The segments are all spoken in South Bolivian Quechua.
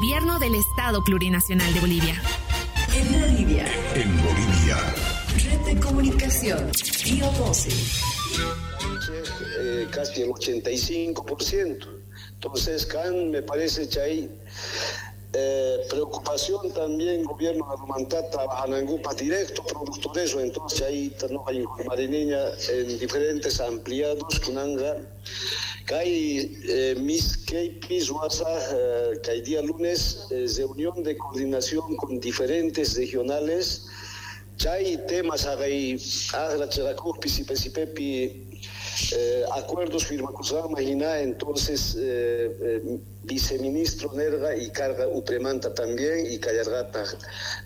Gobierno del Estado Plurinacional de Bolivia. En Bolivia. En Bolivia. Red de Comunicación. Río 12. Casi el 85%. Entonces, can, me parece que hay preocupación también gobierno de Romantata trabajan directo productores entonces ahí no hay mariniña en diferentes ampliados kunanga kay mis kaypis wasa kay día lunes reunión de coordinación con diferentes regionales chay temas agay agra charakupi sipe acuerdos firmakusqanman hina entonces viceministro nerga y carga upremanta también y kallarqataq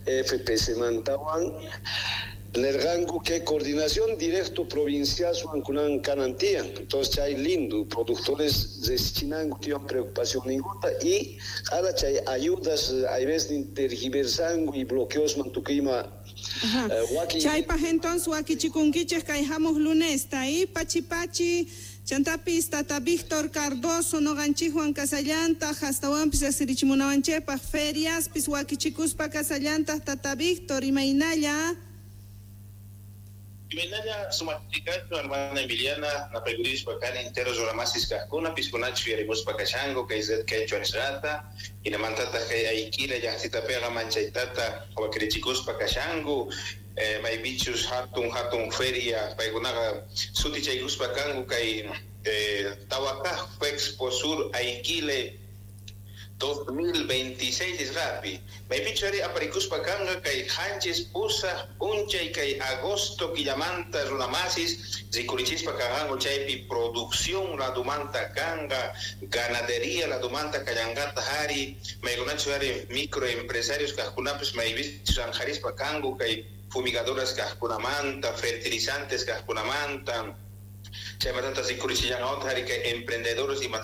FPC mantawan nerganku que coordinación directo provincial suankunan kanan tiyan entonces chay lindo productores deschinanku tiyan preocupación ninguna y ahora chay ayudas hay veces tergiversanku y bloqueos mantukima. Chaypaj entonces wakichikunkichej kay hamuq lunesta y pachi pachi chantapis tata Víctor Cardoso noqanchikwan kasallantaq hastawanpis riqsirichimunawanchikpaq feriaspis wakichikuspa kasallantaq tata Víctor imaynalla. Imaynalla sumachikachu hermana Emiliana napaykurispa kani entero runamasis kaqkuna piskunachu yarimuspa kashanku kay red quechua nisqata hinamantataq kay Ayquila llaqtitapiqa manchaytata wakirichikuspa kashanku maypichus hatun hatun feria paykunaqa sutichaykuspa kanku kay Tawakaj Expo Sur Aiquile 2026 nisqapi maypichu ari aparikuspa kanqa kay qanchis pusaq p'unchay kay agosto killamanta runamasis rikurichispa kanqanku chaypi producción ladumanta kanqa ganadería ladumanta kallanqataq ari maykunachu ari microempresarios kaqkunapis maypichus anqarispa kanku kay fumigadoras kaqkunamanta fertilizantes kaqkunamanta chaymatanta rikurichishanqawtaq ari kay emprendedores.